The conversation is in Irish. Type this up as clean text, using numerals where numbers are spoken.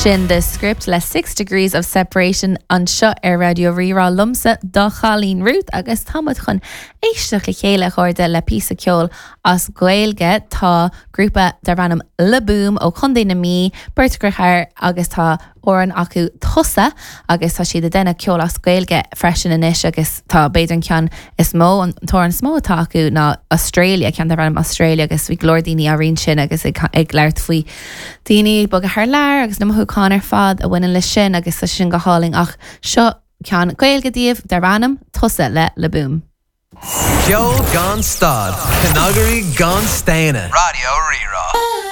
Sin The Script le Six Degrees of Separation anseo ar Raidió Rí-Rá liomsa, do chailín Ruth, agus tá muid chun éisteacht le chéile, a chairde, le píosa ceoil as Gaeilge. Tá grúpa darb ainm Le Boom ó Chontae na Mí, beirt dheartháir agus tá amhrán acu Tusa agus tá siad ag déanamh ceol as Gaeilge freisin anois agus tá b'fhéidir an ceann is mó, an t-amhrán is mó atá acu ná Australia, ceann darb ainm Australia agus bhí go leor daoine á roinnt sin agus ag ag labhairt faoi daoine ag bogadh thar lear agus na mothúcháin ar fad a bhaineann leis sin agus tá sin go hálainn ach seo ceann Gaeilge daoibh darb ainm Tusa le Le Boom. Ceol gan stad, cnagairí gan staonadh. Raidió Rí-Rá.